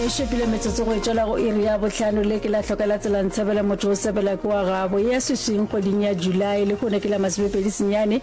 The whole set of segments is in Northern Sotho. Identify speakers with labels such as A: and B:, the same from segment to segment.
A: E šupile metsotso go e tšwela go iri ya bohlano le ke la hloka la tsela ntshebela motho o sebela ke wa gabo ya swiswing kgweding ya July lehono ke la masomepedi senyane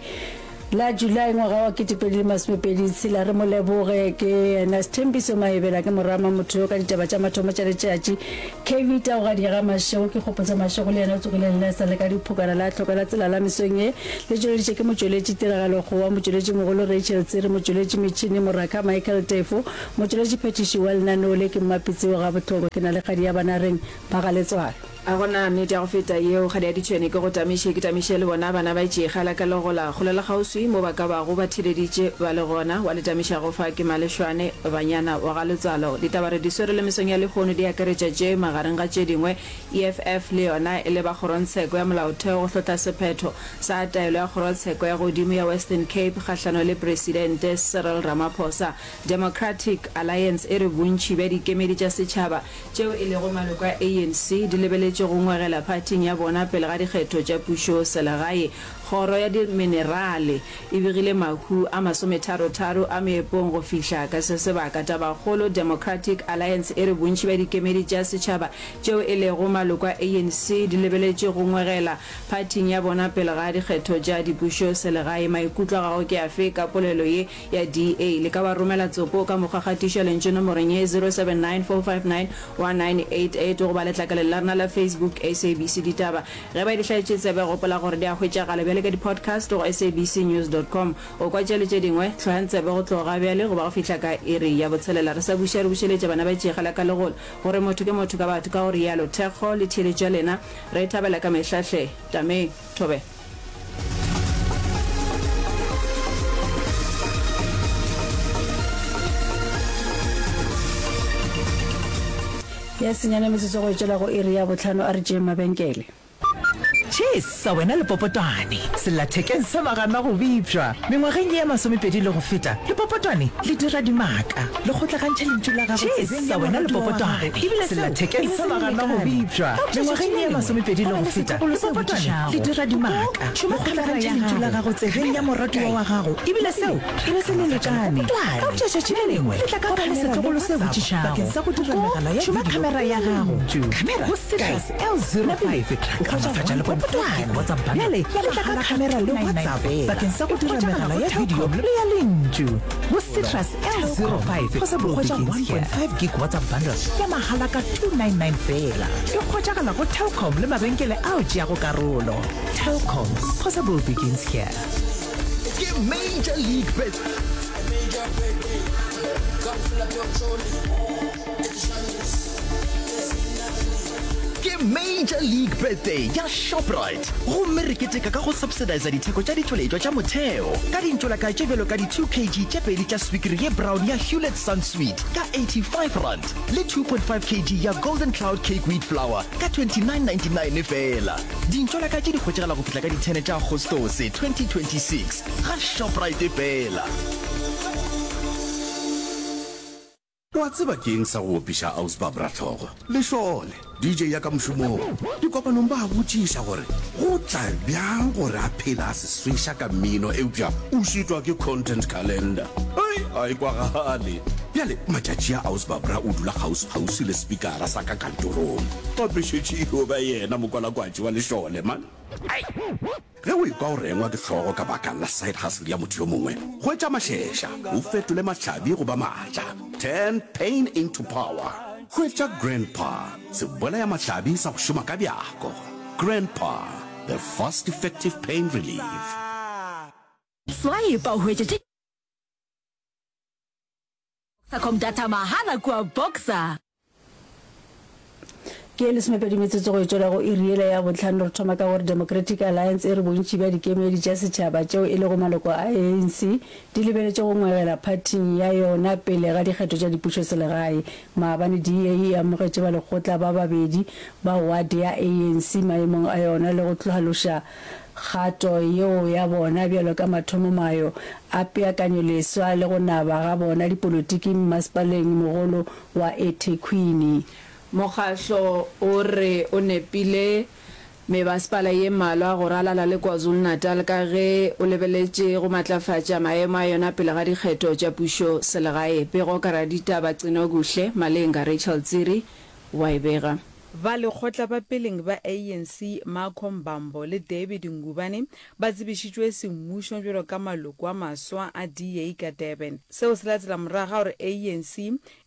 A: la July ngwaga wa 2026 re mo leboge ke yena Sthembiso Maebela ke morama motho yo ka ditaba tša mathomo tša letšatši KV Taogadi ga Mašego ke Kgopotsa Mašego le yena o tsogile le sa le ka diphokana la hloka la tsela la mesong ye le tšweleditše ke motšweletši Tiragalo Kgowa motšweletši mogolo Rachel Tsiri motšweletši metšhini Moraka Michael Tefo Motšweletši phethiši wa lenaneo le ke Mmapitsi wa Gabohloko. Ke na le kgadi ya Banareng ba ga Letswalo.
B: A go na nnete ya go feta yeo, kgadi ya ditšhwene ke go tamiše, ke tamiše le bona bana ba tšega la ka legola kgole le kgauswi mo ba ka bago ba theleditše ba le gona. Wa le tamišago fa ke Malešwane Banyana wa ga Letswalo. Ditaba re di swere le mesong ya lehono di akaretša tše magareng ga tše dingwe, EFF le yona e leba kgorongtsheko ya molaotheo go hlotla sephetho sa taelo ya kgorotsheko ya godimo ya Western Cape kgahlano le Presidente Cyril Ramaphosa. Democratic Alliance e re bontši bja dikemedi tša setšhaba tšeo e lego maloko a ANC di lebeletše go ngwegela phathing ya bona pele ga dikgetho tša pušoselegae. Kgoro ya Diminerale e begile mahu a masometharotharo a meepong go fihla ka se sebaka. Tabakgolo, Democratic Alliance e re bontši bja dikemedi tša setšhaba tšeo e lego maloko a ANC di lebeletše go ngwegela phathing ya bona pele ga dikgetho tša dipušoselegae. Maikutlo a gago ke afe ka polelo ye? ya DA. Le ka ba romela tsopo ka mokgwa kgatišo ya lentšu nomorong ye 0794591988 goba letlakaleng la rena la Facebook SABC Ditaba. Ge ba di hlaetše tsebe gopola gore di a hwetšagala bjale ka di-podcast go sabcnews.com. O kwa tše le tše dingwe, hlohang tsebe go tloga bjale go ba go fihla ka iri ya botshelela. Re sa buša re bušeletša bana ba tšega la ka legolo gore motho ke motho ka batho ka go realo. Thekgo le theeletšo ya lena re e thabela ka mehla hle. Tameng. Thobela.
A: Ya senyane metsotso go e tšwela go iri ya bohlano a re tšeeng mabenkele.
C: Chesa wena lepopotwane, sellathekeng sa magana go bipšwa. Mengwageng ye ya masomepedi le go feta, lepopotwane le dira dimaka. Le kgotlagantšha lentšu la gago tsebeng ya wena lepopotwane, sellathekeng sa magana go bipšwa. Mengwageng ye ya masomepedi le go feta, lepopotwane le dira dimaka. Le kgotlagantšha lentšu la gago tsebeng ya moratiwa wa gago, ebile seo e be se le lekane. Eupša tšatši le lengwe le tla ka khamera le WhatsApp bakeng sa go dira megala ya video le lentšu. Go Citrus L05 o hwetša 1.5 gig WhatsApp bundle ya le tla ka khamera le WhatsApp bakeng sa go dira megala ya video le ya lentšu. Go Citrus L05 o hwetša 1.5 gig WhatsApp bundle ya mahala ka 299 feela. E hwetšagala go Telkom le mabenkele ao tšeago karolo. Telkom, possible begins here.
D: Ke Major League Bet. Ke Major League Birthday ya Shoprite gomme re keteka ka go subsidiza ditheko tša ditšweletšwa tša motheo ka dintšolaka tše bjalo ka di 2 kg tše pedi tša swikiri ye brown ya Hulett Sunsweet ka R85 le 2.5 kg ya Golden Cloud Cake Wheat Flour ka R29.99 feela. Dintšolaka tše di hwetšagala go fihla ka di 10 tša Agostose 2026 ga Shoprite feela.
E: O a tseba ke eng sa go opiša Aus Barbra hlogo? Lešole, DJ ya ka mošomong. Dikopanong ba a botšiša gore go tla bjang gore a phele a se sweša ka mmino eupša o šitwa ke content calendar. Hei, a e kwagale. Bjale matšatši a Aus Barbra o dula kgauswi-kgauswi le spikara sa ka kantorong. Gape šetše e yo ba yena mokwalakwatši wa lešole, man. Ai! Ge o ekwa o rengwa ke hlogo ka baka la side hustle ya motho yo mongwe, hwetša mašeša, o fetole mahlabi go ba maatla. Turn pain into power. Hwetša Grandpa, sebolayamahlabi sa go šoma ka bjako. Grandpa, the fast effective pain relief.
F: Swipe o hwetše tše Boxercom data mahala kua Boxer.
A: Ke ye lesomepedi metsotso go e tšwela go iri yela ya bohlano. Re thoma ka gore Democratic Alliance e re bontši bja dikemedi tša setšhaba tšeo e lego maloko a ANC di lebeletše go ngwegela phathing ya yona pele ga dikgetho tša dipušoselegae. Maabane DA e amogetše balekgotla ba babedi ba ward ya ANC maemong a yona le go hlaloša Kgato yeo ya bona bjalo ka mathomomayo a peakanyoleswa le go naba ga bona dipolotiking mmasepaleng mogolo wa eThekwini.
B: Mokgahlo o re o nepile. Mebasepala ye mmalwa go ralala le KwaZulu-Natal ka ge o lebeletše go matlafatša maemo a yona pele ga dikgetho tša pušo selegae. Pego ka raditaba Cinokuhle Malenga Rachel Tsiri wa e bega.
G: Balekgotla ba peleng ba ANC Marco Mbambo le David Ngubane ba tsebišitšwe semmušo bjalo ka maloko a maswa a DA ka Durban. Seo se latela morago ga gore ANC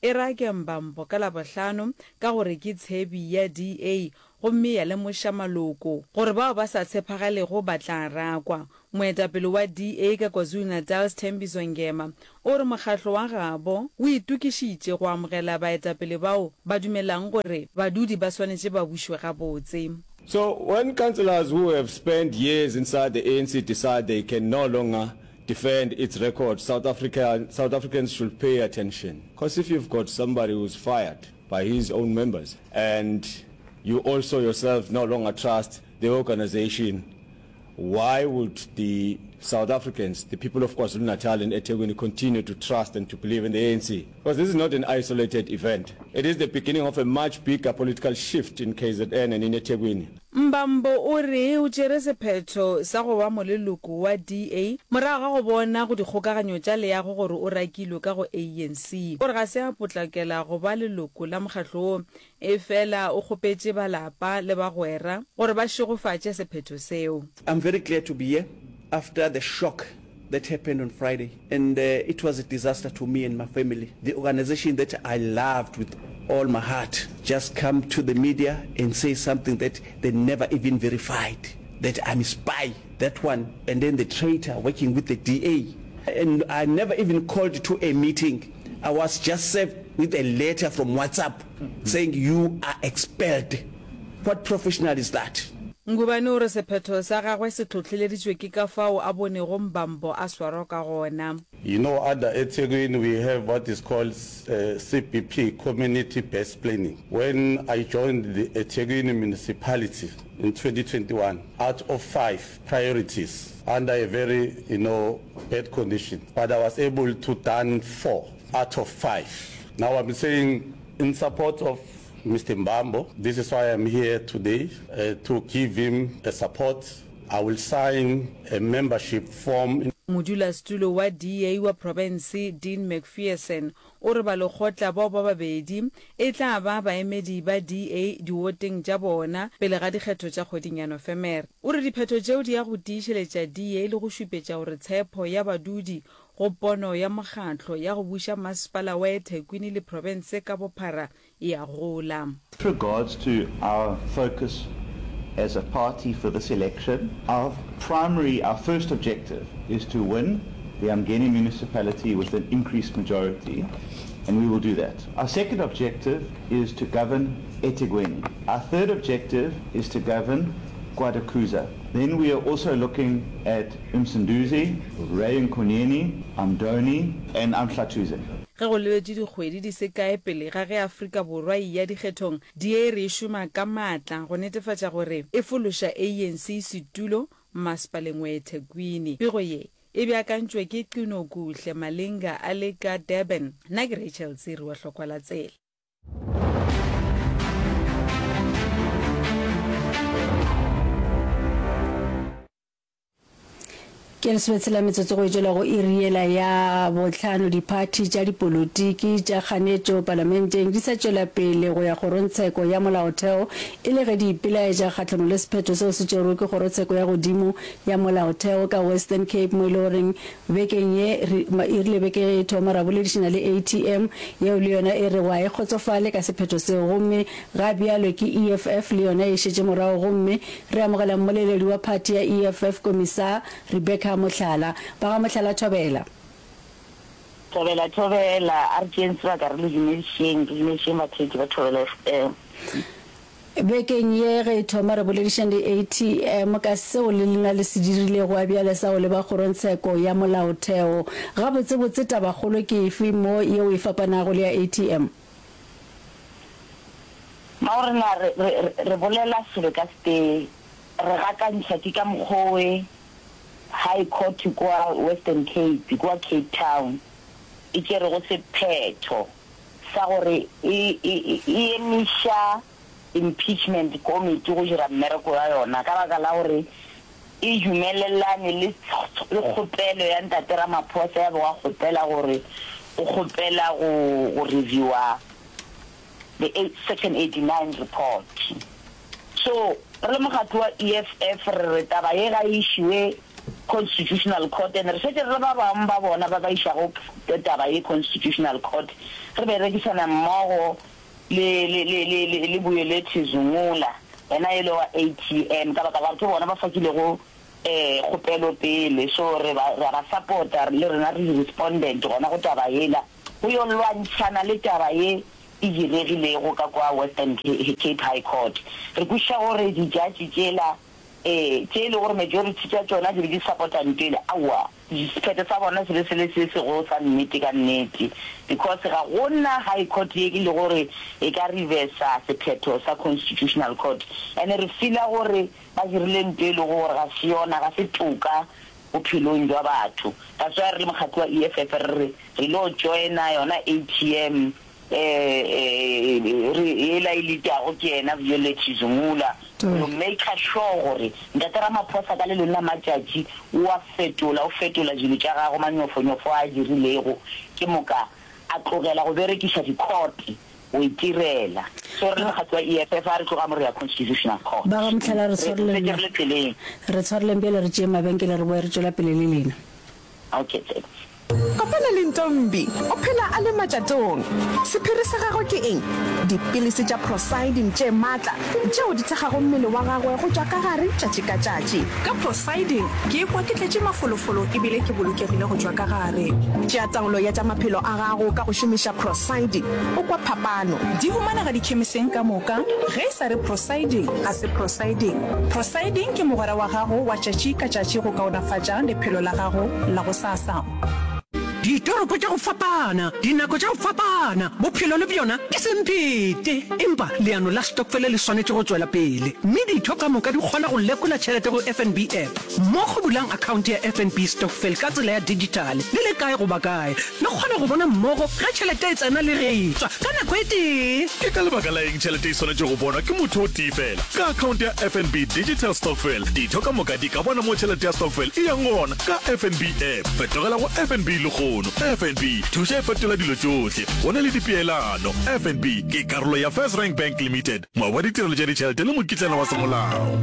G: e rake Mbambo ka Labohlano ka gore ke tshebi ya DA gomme ya lemoša maloko gore bao ba sa tshepagalego ba tla rakwa. Moetapele wa DA ka KwaZulu-Natal Sthembiso Ngema o re mokgatlo wa gabo o itokišitše go amogela baetapele bao ba dumelang gore badudi ba swanetše ba bušwe gabotse.
H: So when councillors who have spent years inside the ANC decide they can no longer defend its record, South Africa, South Africans should pay attention. Because if you've got somebody who's fired by his own members and you also yourself no longer trust the organization, why would the South Africans, the people of KwaZulu-Natal and eThekwini continue to trust and to believe in the ANC? Because this is not an isolated event. It is the beginning of a much bigger political shift in KZN and in eThekwini.
G: Mbambo o re o tšere sephetho sa go ba moleloko wa DA morago ga go bona go dikgokaganyo tša leago gore o rakilwe ka go ANC. O re ga se a potlakela go ba leloko la mokgatlo wo Efela o kgopetše ba lapa le bagwera gore ba šegofatše sephetho seo.
I: I'm very glad to be here after the shock that happened on Friday and it was a disaster to me and my family. The organization that I loved with all my heart just come to the media and say something that they never even verified, that I'm a spy, that one, and then the traitor working with the DA. And I never even called to a meeting. I was just served with a letter from WhatsApp saying you are expelled. What professional is that?
G: Ngubane o re sephetho sa gagwe se hlohleleditšwe ke ka fao a bonego Mbambo a swarwa ka gona.
J: You know under eThekwini we have what is called CBP, Community Based Planning. When I joined the eThekwini Municipality in 2021, out of five priorities under a very, you know, bad condition, but I was able to done four out of five. Now I'm saying in support of Mister Mbambo, this is why I'm here today, uh, to give him a support. I will sign a membership form.
G: Modulasetulo wa DA wa profense Dean Macpherson o re balekgotla bao ba babedi e tla ba baemedi ba DA diwoteng tša bona pele ga dikgetho tša kgweding ya Nofemere. O re diphetho tšeo di ya go tiišeletša DA le go šupetša gore tshepo ya badudi go pono ya mokgatlo ya go buša masepala wa eThekwini le profense ka bophara e a gola.
K: With regards to our focus as a party for this election, our primary, our first objective is to win the Umgeni municipality with an increased majority, and we will do that. Our second objective is to govern eThekwini. Our third objective is to govern KwaDukuza. Then we are also looking at Msunduzi, Ray Nkonyeni, Umdoni and Umhlathuze.
G: Ge go lebetšwe dikgwedi di se kae pele ga ge Afrika Borwa e eya dikgethong, DA e re e šoma ka maatla go netefatša gore e fološa ANC setulo masepaleng wa eThekwini. Pego ye e beakantšwe ke Qinokuhle Malinga a le ka Durban. Nna ke Rachel Tsiri wa Hlokwa la Tsela.
A: Ke lesometshela metsotso go etšwela go iri yela ya bohlano. Diphathi tša dipolotiki tša kganetšo palamenteng di sa tšwela pele go ya kgorongtsheko ya molaotheo e le ge di ipelaetša kgahlanong le sephetho seo se tšerwego ke kgorotsheko ya godimo ya molaotheo ka Western Cape mo e le goreng Bekeng ye, re, e rile beke ge e thoma, ra boledišana le ATM, yeo le yona e rego ga e kgotsofale ka sephetho seo. Gomme ga bjalo ke EFF le yona e šetše morago gomme re amogela mmoleledi wa phathi ya EFF, Komisar Rebecca Mohlala. Ba ga Mohlala thobela.
L: Thobela, thobela, a re tšeeng sebaka re le dumedišeng, re dumedišeng batheetši ba Thobela FM.
A: Bekeng ye ge e thoma re boledišane le ATM ka seo le lena le se dirilego a bjale sa go leba kgorongtsheko ya molaotheo. Gabotsebotse tabakgolo ke efe mo yeo e fapanago le ya ATM?
L: Mao rena re, re, re bolela selo ka setee, re gakantšha ke ka mokgowe High Court kua Western Cape, kua Cape Town, e tšerego sephetho sa gore e, e, e emiša. Impeachment Committee go dira mmereko wa yona ka baka la gore e dumelelane le le kgopelo ya Ntate Ramaphosa ya bego a kgopela gore o kgopela go go reviewa the Section 89 report. So re le mokgatlo wa EFF re re taba ye ga e išiwe Constitutional Court and re šetše re le ba bangwe ba bona ba ba išago taba ye Constitutional Court re berekisana mmogo le, le, le, le, le, le Buyelethu Zungula, yena ele wa ATM, ka baka la gore ke bona ba fakilego eh, kgopelo pele. So re ba, re a ba support-a, le rena re di-respondent gona go taba yela, go yo lwantšhana le taba ye e diregilego ka kwa Western Cape High Court. Re kwešiša gore di-judge tšela Ee, tše e lego gore majority tša tšona di be di support-a ntwele, aowa, sephetho sa bona se be se le se sego sa nnete ka nnete, because ga go na High Court ye e lego gore e ka reversa sephetho sa Constitutional Court. And re feela gore ba dirile nto e lego gore ga se yona, ga se toka bophelong jwa batho. That's why re le mokgatlo wa EFF re re re lo joina yona ATM, re yela e leadago ke yena Violet Zungula go maker sure gore Ntate Ramaphosa ka le lengwe la matšatši o a fetola, o fetola dilo tša gagwe, manyofonyofo a a dirilego, ke moka a tlogela go berekiša di-court go itirela. So re le mokgatlo wa EFF a re tloga mo re ya Constitutional Court.
A: Ba ga Mohlala re
L: Re šetše re le tseleng.
A: Re tshwareleng bjale re tšee mabenkele re boe re tšwela pele le lena.
L: Okay, thanks.
M: Kopana le Ntombi. O phela a le matšatong. Sephiri sa gagwe ke eng? Dipilisi tša Procyldin tše matla tšeo di thekgago mmele wa gagwe go tšwa ka gare tšatši ka tšatši.
N: Ka Procyldin, ke ikwa ke tletše mafolofolo e bile ke bolokegile go tšwa ka gare.
M: Tšea taolo ya tša maphelo a gago ka go šomiša Procyldin. O kwa phapano.
N: Di humanega dikhemiseng ka moka. Ge e sa re Procyldin, ga se Procyldin. Procyldin ke mogwera wa gago wa tšatši ka tšatši go kaonafatša lephelo la gago la gosasa.
O: Ditoropo tša go fapana, dinako tša go fapana, bophelo le bjona ke semphete. Empa leano la stokfele le swanetše go tšwela pele, mme ditho ka moka di kgona go lekola tšhelete go FNB app. Mmogo bulang akhaonte ya FNB Stokvel ka tsela ya dijithale le le kae goba kae. Le kgona go bona mmogo ge tšhelete e tsena le ge e tšwa ka nako e tee.
P: Ke ka lebaka la eng tšhelete e swanetše go bonwa ke motho o tee fela? Ka akhaonte ya FNB Digital Stokvel, ditho ka moka di ka bona mo tšhelete ya stokvel e yang gona ka FNB app. Fetogela go FNB lehono. FNB, thuša e fetola dilo tšohle. Go na le dipeelano. FNB ke karolo ya FirstRand Bank Limited, moabi wa ditirelo tša ditšhelete le mokitlana wa semolao.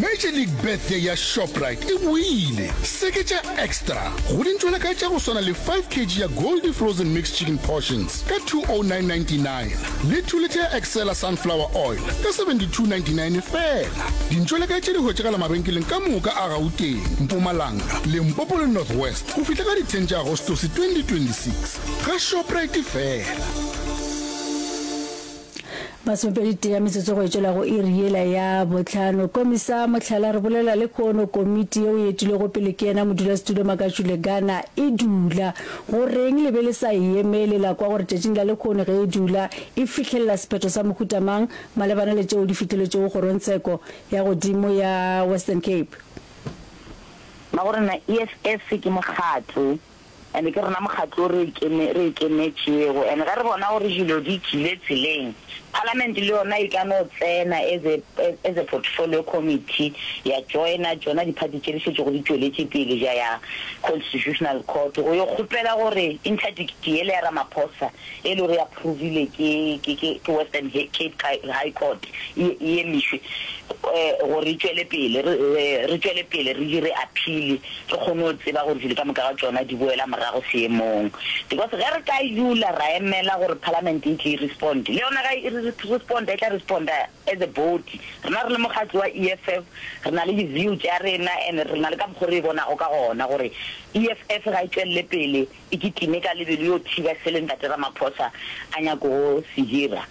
E: Major League Birthday ya Shoprite e boile! Seketša extra go dintšwelakae tša go swana le 5 kg ya Goldie Frozen Mixed Chicken Portions ka 209.99 le 2 litha ya Excella Sunflower Oil ka 72.99 feela. Dintšwelakae tše di hwetšagala mabenkeleng ka moka a Gauteng, Mpumalanga, Limpopo le North West. Go fihla ka di 10 tša Agostose 2026, ga Shoprite feela.
A: Masomepedi tee ya metsotso go e tšwela go iri yela ya bohlano. Komisa mohlala re bolela lehono komiti yeo e etilwego pele ke yena modulasetulo Makashule Gana e dula. Go reng le be le sa e emele la kwa gore tšatšing la lehono ge e dula e fihlelela sephetho sa mohuta mang malebana le tšeo di fihleletšego kgorongtsheko ya godimo ya Western Cape?
L: Ba go rena EFF ke mokgatlo and ke rena mokgatlo o re re ikemetšego and ge re bona gore dilo di tšwile tseleng, Parliament le yona e ka no tsena as a as a portfolio committee ya joina tšona di-party tše di šetšego di tšweletše pele ja ya Constitutional Court go yo kgopela gore interdict yela ya Ramaphosa e le gore e approvile ke ke ke ke Western Cape High Court e e emišwe gore e tšwele pele re re tšwele pele re dire appeal re kgone go tseba gore dilo ka moka ga tšona di boela morago seemong because ge re ka dula ra emela gore parliament e tle e respond le yona ga e respond e tla responda as a body rena re le mokgatlo wa EFF re na le di view tša rena and re na le ka mokgo re e bonago ka gona gore EFF ga e tšwelele pele e kitime ka lebelo yo thiba sele Ntate Ramaphosa a nyakogo se dira.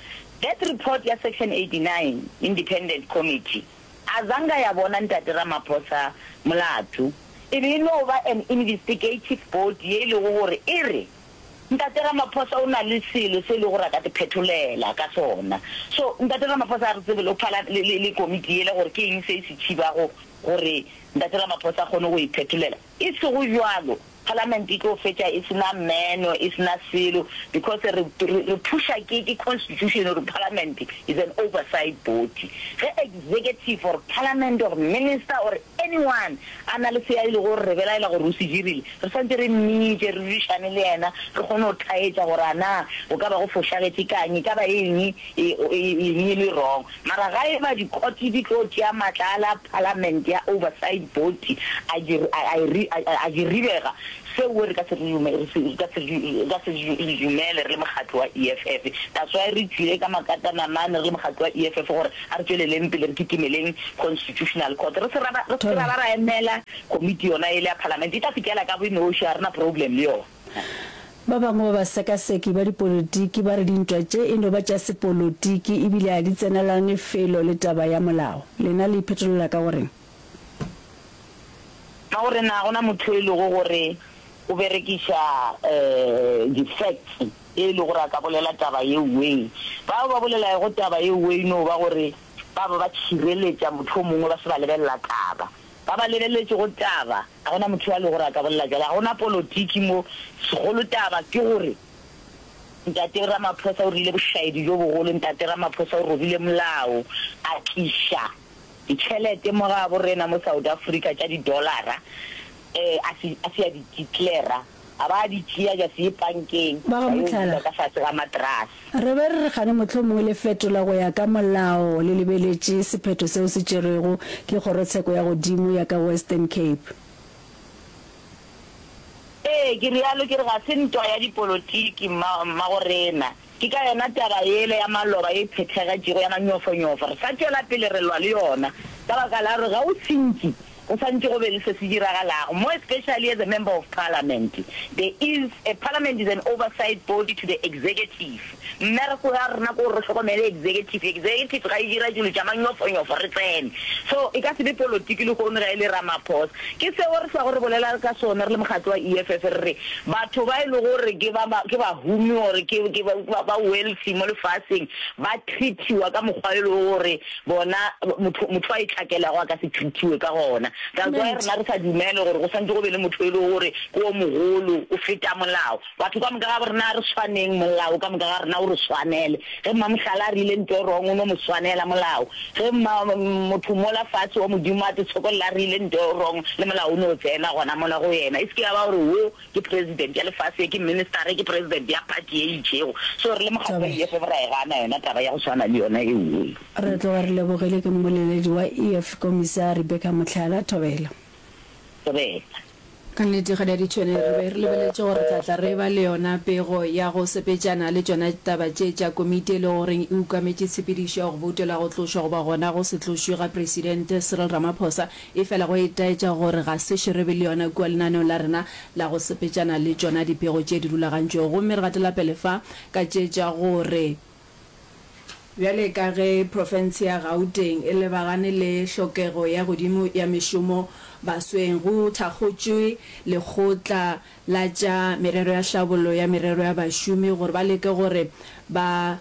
L: That report ya Section 89 Independent Committee a zanga ya bona Ntate Ramaphosa molato. E be e no ba an investigative body ye e lego gore e re. Ntate Ramaphosa o na le selo se e lego gore a ka te phetholela ka sona. So Ntate Ramaphosa a re tsebe le phala le, le, le komiti yela gore ke eng se e se thibago gore Ntate Ramaphosa a kgone go e phetholela. E sego bjalo, Parliament e tlo fetša e se na meno, e se na selo because re, re, re pusha ke, ke constitution gore Parliament is an oversight body. Ge executive or Parliament or minister or anyone a na le se a e lego gore re belaela gore o se dirile, re swanetše re mmitše, re dudišane le yena, re kgone go thaetša gore a na go ka ba go fošagetše ka'ng, e ka ba eng e, eng e le wrong. Mara ga e ba di-court di tlo tšea matla a la Parliament ya oversight body a di, a, a e, a, a di ribega, seo re ka se re, re se, re ka se, re ka se re dumele re le mokgatlo wa EFF. That's why re tšwile ka makatanamane re le mokgatlo wa EFF gore a re tšweleleng pele re kitimeleng Constitutional Court. Re se ra ba, re se ke ra ba ra emela komiti yona yele ya Parliament, e tla fihlela ka bonoši, ga re na problem le yona.
A: Ba bangwe ba basekaseki ba dipolotiki ba re dintwa tše e no ba tša sepolotiki e bile ga di tsenelane felo le taba ya molao. Lena le iphetolela ka go reng?
L: Ka gore na go na motho e lego gore o berekiša di-facts e le gore a ka bolela taba ye way? Bao ba bolelago taba ye way no ba gore ba ba ba tšhireletša motho o mongwe ba se ba lebelela taba. Ba ba lebeletšego taba, ga go na motho yo a lego gore a ka bolela bjalo. Ga go na polotiki mo. Segolo taba ke gore Ntate Ramaphosa o rile bošaedi bjo bogolo, Ntate Ramaphosa o robile molao, a tliša ditšhelete mo gabo rena mo South Africa tša di-dollara, a se, a se a di declara. A ba a di tšea ja se ye pankeng,
A: Ba ga
L: ba yo
A: mohlala.
L: dula ka fase ga matrase.
A: Re be re re kgane mohlomongwe le fetola go ya ka molao le lebeletše sephetho seo se tšerwego ke kgorotsheko ya godimo ya ka Western Cape.
L: Ee, ke realo ke re ga se ntwa ya dipolotiki, mma, mmagorena. Ke ka yona taba yela ya maloba ye e phethagetšego ya manyofonyofo. Re sa tšwela pele re lwa le yona ka baka la gore ga o sentše, go santše go be le se se diragalago. More especially as a member of parliament. There is a, parliament is an oversight body to the executive. Mmereko ya rena ke gore re hlokomele executive. Executive ga e dira dilo tša manyofonyofo re tsene. So e ka se be polotiki lehono ga e le Ramaphosa. Ke seo re hlwago re bolela ka sona re le mokgatlo wa EFF re re batho ba e lego gore ke ba ke bahumi or ke ke ba ba wealthy mo lefaseng ba treat-iwa ka mokgwa e lego gore bona motho motho a itlhakelago a ka se treat-iwe ka gona. That's why rena re sa dumele gore go swantše go be le motho e lego gore ke o mogolo o feta molao. Batho ka moka ga rena a re swaneng, molao ka moka ga rena o re swanele. Ge Mmamohlala a rile nto e wrong, o no mo swanela molao. Ge mma, motho mola fatshe wa Modimo a te tshokolla a rile nto e wrong, le molao o no tsena gona mola go yena. E se ke ya ba gore wo ke president ya lefase, ye ke minister, ye ke president ya party ye e itšego. So re le mokgatlo wa EFF ra e gana yona taba ya go swana le yona eo.
A: Re tloga re lebogile ke mmoleledi wa EF Kommissar Rebecca Mohlala Thobela.
L: Thobela.
B: Ka nnete, Kgadi ya Ditšhwene, re be re lebeletše gore re tla tla re eba le yona pego ya go sepetšana le tšona taba tše tša komiti e lego goreng e ukametše tshepedišo ya go boutela go tlošwa goba gona go se tlošwe ga Presidente Cyril Ramaphosa, efela go itaetša gore ga sešo re be le yona kua lenaneong la rena la go sepetšana le tšona dipego tše di rulagantšwego. Gomme re gatela pele fa ka tše tša gore. Bjale ka ge profense ya Gauteng e lebagane le hlokego ya godimo ya mešomo basweng, go thakgotšwe Lekgotla la tša Merero ya Hlabollo ya Merero ya Bašomi gore ba leke gore ba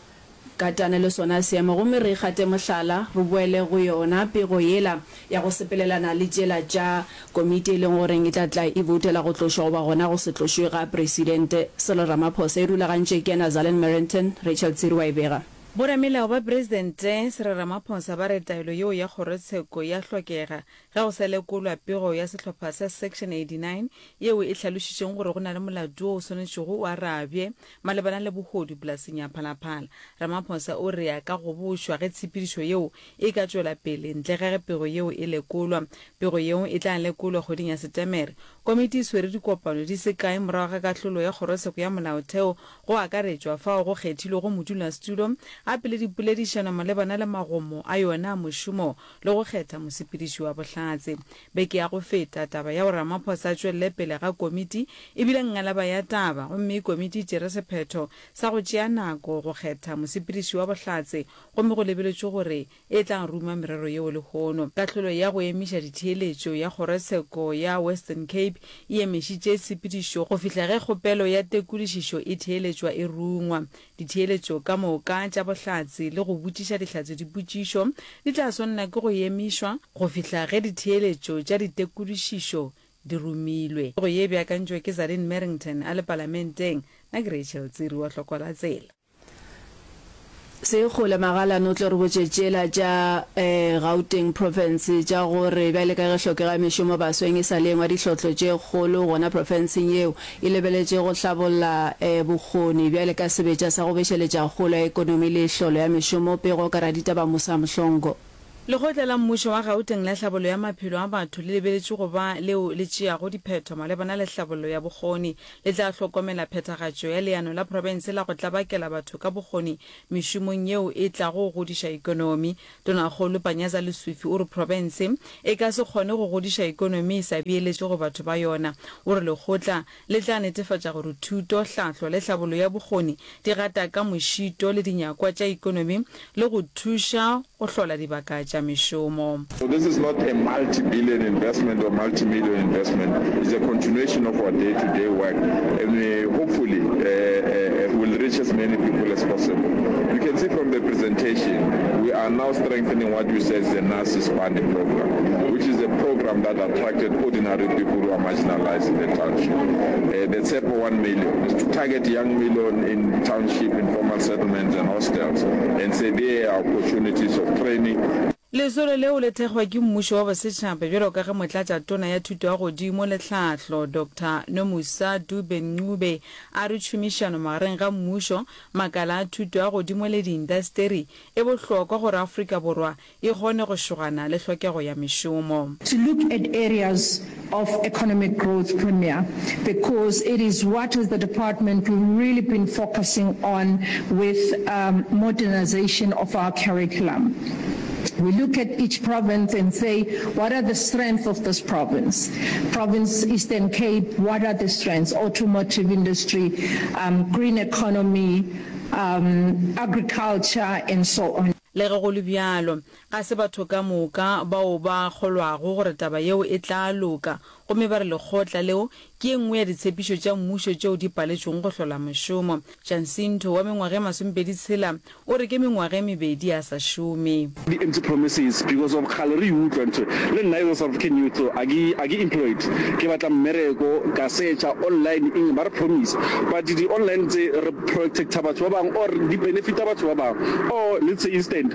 B: katane le sona seemo. Gomme re gate mohlala, re boele go yona pego yela ya go sepelelana le tšela tša komiti e leng goreng e tla tla e boutela go tlošwa goba gona go se tlošwe ga Presidente Cyril Ramaphosa. E rulagantšwe ke Nazalyn Merrington, Rachel Tsiri wa e bega.
G: Boramelao ba Presidente Cyril Ramaphosa ba re taelo yeo ya kgorotsheko ya hlokega ge go sa lekolwa pego ya sehlopha sa Section 89 yeo e hlalošitšeng gore go na le molato wo o swanetšego o arabje malebana le bohodu polaseng ya Phalaphala. Ramaphosa o re a ka gobošwa ge tshepedišo yeo e ka tšwela pele ntle ga ge pego yeo e lekolwa. Pego yeo e tla lekolwa kgweding ya Setemere. Komiti e swere dikopano di se kae morago ga kahlolo ya Kgorotsheko ya Molaotheo go akaretšwa fao go kgethilwego modulasetulo. a pele dipoledišano malebana le magomo a yona a mošomo le go kgetha mosepediši wa bohlatse. Beke ya go feta, taba ya gore Ramaphosa a tšwelele pele ga komiti e bile ngalaba ya taba gomme komiti e tšere sephetho sa go tšea nako go kgetha mosepediši wa bohlatse gomme go lebeletšwe gore e tla ruma merero yeo lehono. Kahlolo ya go emiša ditheeletšo ya kgorotsheko ya Western Cape e emišitše tshepedišo go fihla ge kgopelo ya tekodišišo e theeletšwa e rungwa. Ditheeletšo ka moka tša bohlatse le go botšiša dihlatse dipotšišo di tla swanela ke go emišwa go fihla ge ditheeletšo tša ditekodišišo di rumilwe. Pego ye e beakantšwe ke Zareen Merrington a le Palamenteng. Nna ke Rachel Tsiri wa Hlokwa la Tsela.
B: Sekgole Magalane o tlo re botše tšela tša Gauteng Province tša gore bjale ka ge hlokego ya mešomo basweng e sa le engwe ya dihlotlo tše kgolo gona profenseng yeo, e lebeletše go hlabolla bokgoni bjale ka sebetša sa go bešeletša kgolo ya ekonomi le hlolo ya mešomo, pego ka raditaba Musa Mhlongo.
G: Lekgotla la Mmušo wa Gauteng la Hlabollo ya Maphelo a Batho le lebeletšwe go ba leo le tšeago diphetho malebana le hlabollo ya bokgoni. Le tla hlokomela phethagatšo ya leano la profense la go tlabakela batho ka bokgoni mešomong yeo e tlago go godiša ekonomi. Tonakgolo Panyaza Lesufi o re profense e ka se kgone go godiša ekonomi e sa beeletše go batho ba yona. O re lekgotla Le tla netefatša gore thuto, hlahlo le hlabollo ya bokgoni di gata ka mošito le dinyakwa tša ekonomi le go thuša go hlola dibaka tša mešomo.
Q: So this is not a multi-billion investment or multi-million investment, it's a continuation of our day-to-day work and we hopefully will reach as many people as possible. You can see from the presentation, we are now strengthening what you said is the Nurses Funding Program, which is a program that attracted ordinary people who are marginalized in the township. Uh, the Tshepo 1 million is to target young million in township, informal settlements and hostels and say there are opportunities of training.
G: Lesolo leo le thekgwa ke mmušo wa bosetšhaba bjalo ka ge Motlatšatona ya Thuto ya Godimo le Tlhahlo, Doctor Nomusa Dube-Ncube a re tšhomišano magareng ga mmušo, makala a thuto ya godimo le diindasteri e bohlokwa gore Afrika Borwa e kgone go šogana le hlokego ya mešomo.
R: To look at areas of economic growth, Premier, because it is what as the department we've really been focusing on with modernization of our curriculum. We look at each province and say, what are the strengths of this province? Province Eastern Cape, what are the strengths? Automotive industry, um, green economy, um, agriculture, and so on.
G: Le ge go le bjalo, ga se batho ka moka bao ba kgolwago gore taba yeo e tla loka, gomme ba re lekgotla leo ke ye nngwe ya ditshepišo tša mmušo tšeo di paletšwego go hlola mošomo. Jacinto wa mengwaga e masomepedi-tshela o re ke mengwaga e mebedi a sa šome.
S: Di empty promises because of kgale re e utlwa ntho e. Le nna as a South African youth a ke a ke employed ke batla mmereko ka searcha online eng ba re promise but di online tse re protecta batho ba bang or di benefita batho ba bang or let's say instant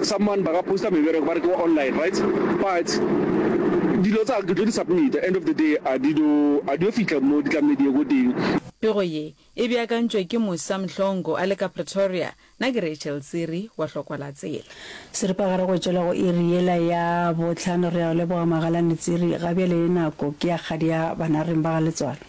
S: someone ba ka posta mebereko ba re ke wa online right but dilo tsa ke tlo di submita end of the day a di do a di yo fihla mo di tlamehile di ye ko teng.
G: Pego ye e beakantšwe ke Musa Mhlongo a le ka Pretoria. Nna ke Rachel Tsiri wa Hlokwa la Tsela.
A: Seripagare go tšwela go iri yela ya bohlano. Re a go leboga Magalane Tsiri. Ga bjale nako ke ya kgadi ya banareng ba ga Letswalo.